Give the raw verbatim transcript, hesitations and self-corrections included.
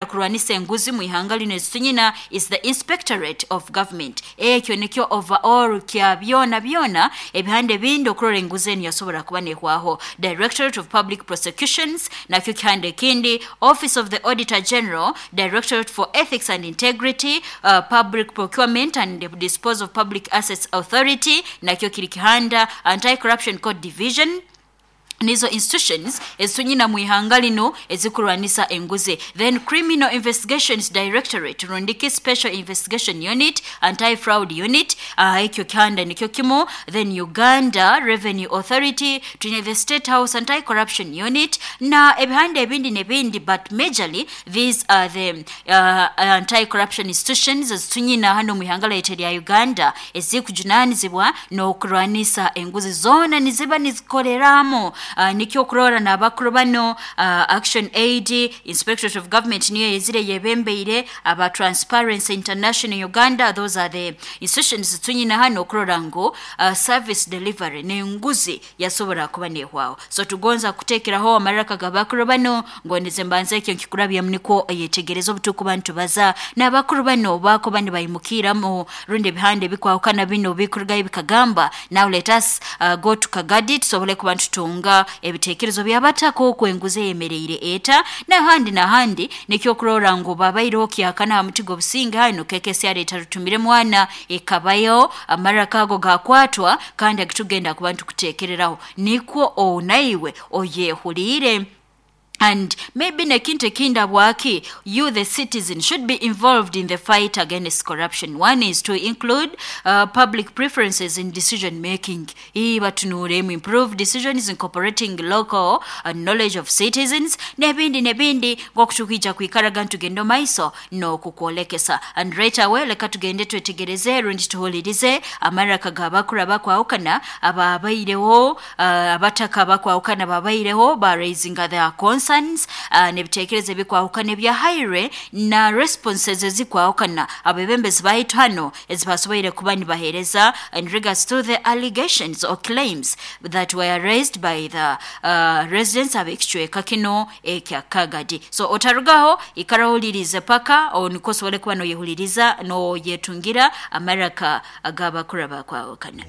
Kurwanisa enguzi mu ihanga lino ezitunyina is the Inspectorate of Government. Ekyo nikyo overall kya byona byona ebihande ebindi okurora enguzi enu yasobora kuba nehwaho. Directorate of Public Prosecutions nakyo kihande ekindi, Office of the Auditor General, Directorate for Ethics and Integrity, uh, Public Procurement and Disposal of Public Assets Authority nakyo kiri kihanda, Anti-Corruption Court Division. Nizo institutions ezitunyina mu ihanga lino ezikurwanisa enguzi. Then Criminal Investigations Directorate, rundiki Special Investigation Unit, Anti-Fraud Unit, uh, ekyo kihanda nikyo kimu. Then Uganda Revenue Authority, twine the State House Anti-Corruption Unit na ebihanda ebindi nebindi, but majorly these are the uh, anti-corruption institutions ezitunyina hano mu ihanga lyaitu lya Uganda ezikujunanizibwa n'okurwanisa enguzi. Zona niziba nizikoreramu. Uh, nikyo okurora n'abakuru bano, uh, Action Aid, Inspectorate of Government niyo yezire yebembeire, aba Transparency International Uganda. Those are the institutions tunyina hano okurora ngu uh, service delivery n'enguzi yasobora kuba nehwaho. So tugonza kutekeraho amaraka g'abakuru bano ngondeze mbanze ekyo nkikurabyamu nikwo yetegereza obutukuba nitubaza n'abakuru bano bakuba nibayimukiramu rundi ebihande ebikwahukana bino bikurugayo bikagamba. Now let us uh, go to Kagadi tusobole kuba nitutunga ebitekerezo byabatako okwenguza eyemereire eta nahandi nahandi. Nikyo okurora ngu babaireho kyakana ha mutigo businga hano kekesi yareta rutumire mwana ekabayo amaraka ago gakwatwa kandi agitugenda kuba ntukutekereraho nikwo onaiwe oyehulire. And maybe nekintu ekinda bwaki you the citizen should be involved in the fight against corruption. One is to include uh, public preferences in decision making. Ibatunuremu improve decisions incorporating local uh, knowledge of citizens nebindi nebindi ngokutukija kwikaraga ntugendo maiso no kukwolekesa. And right away leka tugende twetegereze rundi tuhulirize amaraka g'abakuru abakwahukana ababaireho, uh, abataka abakwahukana babaireho ba raising their concerns, uh, n'ebitekerezo ebikwahukana ebyahaire na responses ezikwahukana abebembezi baitu hano ezibasoboire kuba nibahereza in regards to the allegations or claims that were raised by the uh, residents ab'ekicweka kino ekya Kagadi. So otarugaho ikarahulirize paka oniko osobole kuba noyehuliriza noyetungira amaraka ag'abakuru abakwahukana.